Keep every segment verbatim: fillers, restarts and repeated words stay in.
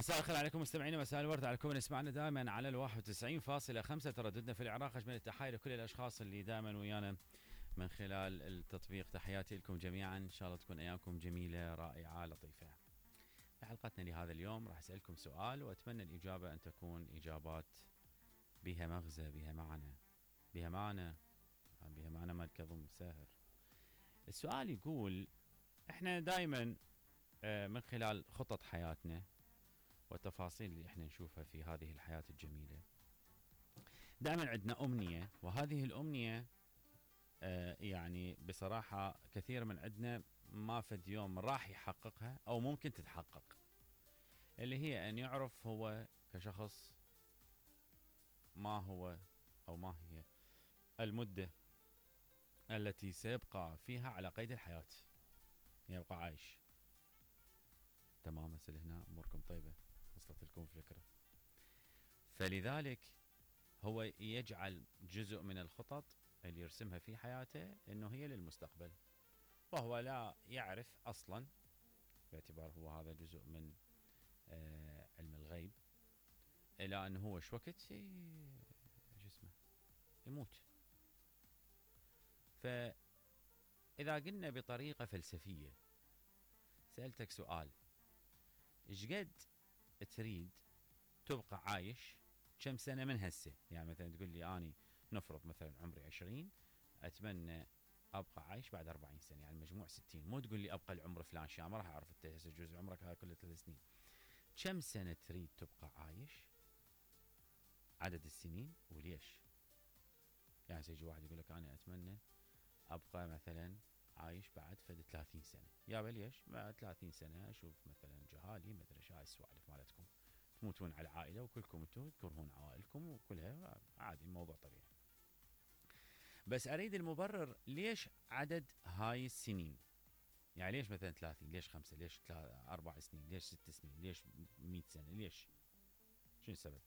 مساء الخير عليكم مستمعينا، مساء الورد على كل من يسمعنا دائما على الواحد وتسعين فاصلة خمسة ترددنا في العراق. أجمل التحايا لكل الأشخاص اللي دائما ويانا من خلال التطبيق. تحياتي لكم جميعا، إن شاء الله تكون أيامكم جميلة رائعة لطيفة. في حلقتنا لهذا اليوم راح أسألكم سؤال، وأتمنى الإجابة أن تكون إجابات بها مغزى، بها معنى، بها معنى بها معنى ما الكظم ساهر. السؤال يقول: احنا دائما من خلال خطط حياتنا والتفاصيل اللي احنا نشوفها في هذه الحياة الجميلة دائما عندنا أمنية، وهذه الأمنية آه يعني بصراحة كثير من عندنا ما فد يوم راح يحققها أو ممكن تتحقق، اللي هي أن يعرف هو كشخص ما هو أو ما هي المدة التي سيبقى فيها على قيد الحياة، يبقى عايش. تمام، مثل هنا أموركم طيبة، وصلت لكم فكرة. فلذلك هو يجعل جزء من الخطط اللي يرسمها في حياته انه هي للمستقبل، وهو لا يعرف اصلا، باعتبار هو هذا جزء من آه علم الغيب، الى انه هو شو وقت شو اسمه يموت. فاذا قلنا بطريقة فلسفية، سألتك سؤال: ايش قد تريد تبقى عايش كم سنة من هسه؟ يعني مثلا تقول لي اني نفرض مثلا عمري عشرين، اتمنى ابقى عايش بعد أربعين سنة، يعني مجموع ستين. مو تقول لي ابقى العمر فلان شيء، ما راح اعرف انت هسه جزء عمرك هذا كله ثلاث سنين. كم سنة تريد تبقى عايش؟ عدد السنين وليش؟ يعني سيجي واحد يقول لك انا اتمنى ابقى مثلا عايش بعد فد ثلاثين سنة. يا ليش؟ بعد ثلاثين سنة اشوف مثلا جهالي، ما ادري شو هاي السوالف مالتكم، تموتون على العائلة وكلكم انتم تكرهون عوائلكم وكلها عادي، الموضوع طبيعي. بس اريد المبرر ليش عدد هاي السنين. يعني ليش مثلا ثلاثين؟ ليش خمسة؟ ليش أربع سنين؟ ليش ست سنين؟ ليش مئة سنة؟ ليش؟ شنو السبب؟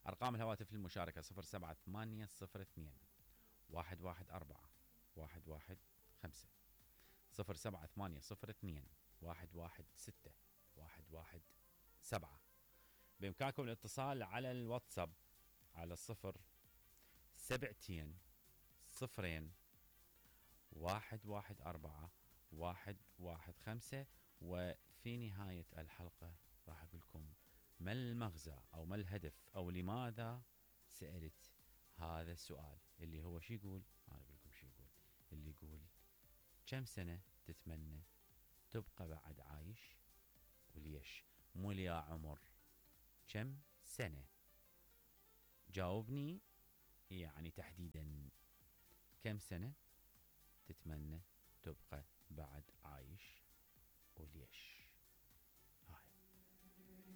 أرقام الهواتف للمشاركة صفر سبعة ثمانية صفر اثنين واحد واحد أربعة واحد واحد خمسة، صفر سبعة ثمانية صفر اثنين واحد واحد ستة واحد واحد سبعة. بإمكانكم الاتصال على الواتساب على الصفر سبعتين صفرين واحد واحد أربعة واحد واحد خمسة. وفي نهاية الحلقة راح أقول لكم ما المغزى أو ما الهدف أو لماذا سألت هذا السؤال، اللي هو شو يقول. أنا أقول لكم شو يقول، اللي يقول كم سنة تتمنى تبقى بعد عايش وليش؟ مو يا عمر، كم سنة؟ جاوبني يعني تحديدا كم سنة تتمنى تبقى بعد